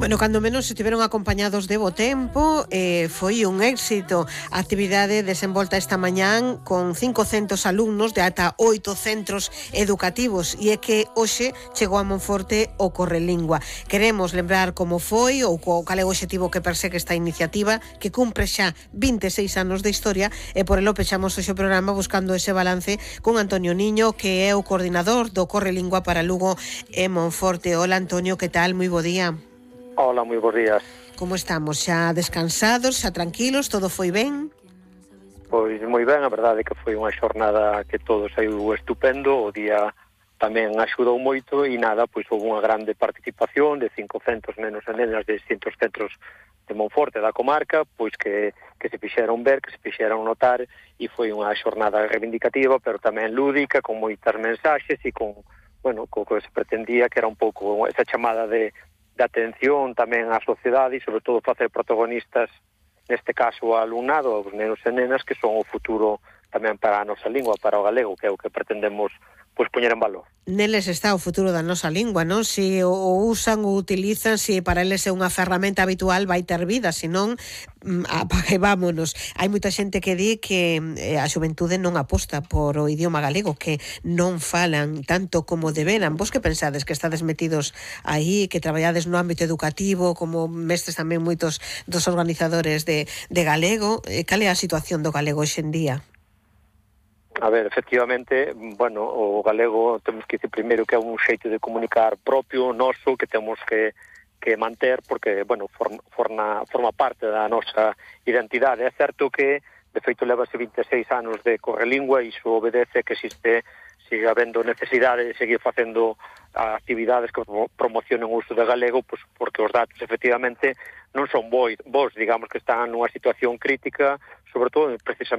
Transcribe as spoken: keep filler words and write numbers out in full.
Bueno, cando menos estiveron acompañados de bo tempo, eh, foi un éxito a actividade desenvolta esta mañán con cincocentos alumnos de ata oito centros educativos, e é que hoxe chegou a Monforte o Correlingua. Queremos lembrar como foi ou cal é o obxectivo que persegue esta iniciativa, que cumpre xa vinte e seis anos de historia, e por elo pechamos hoxe o programa buscando ese balance con Antonio Niño, que é o coordinador do Correlingua para Lugo e Monforte. Hola, Antonio, que tal? Moi bo día. Hola, moi bons días. Como estamos? Xa descansados, xa tranquilos? Todo foi ben? Pois moi ben, a verdade é que foi unha xornada que todo saiu estupendo, o día tamén axudou moito e nada, pois houve unha grande participación de cincocentos nenos e nenas de distintos centros de Monforte da comarca, pois que, que se fixeron ver, que se fixeron notar, e foi unha xornada reivindicativa, pero tamén lúdica, con moitas mensaxes e con, bueno, co que se pretendía, que era un pouco esa chamada de de atención tamén á sociedade e, sobre todo, facer protagonistas, neste caso, ao alumnado, aos nenos e nenas, que son o futuro tamén para a nosa lingua, para o galego, que é o que pretendemos pois poñer en valor. Neles está o futuro da nosa lingua, non? Se o usan ou utilizan, se para eles é unha ferramenta habitual, vai ter vida, senón apague vámonos. Hai moita xente que di que a xuventude non aposta por o idioma galego, que non falan tanto como deberan. Vos que pensades, que estades metidos aí, que traballades no ámbito educativo, como mestres tamén moitos dos organizadores de, de galego, cal é a situación do galego hoxe en día? A ver, efectivamente, bueno, o galego temos que dicir primeiro que é un xeito de comunicar propio, noso, que temos que, que manter, porque, bueno, forma, forma, forma parte da nosa identidade. É certo que, de feito, levase vinte e seis anos de Correlingua e iso obedece que existe, sigue habendo necesidade de seguir facendo actividades que promocionen o uso de galego, pues, porque os datos, efectivamente, non son bons, digamos que están nunha situación crítica, sobre todo, precisamente,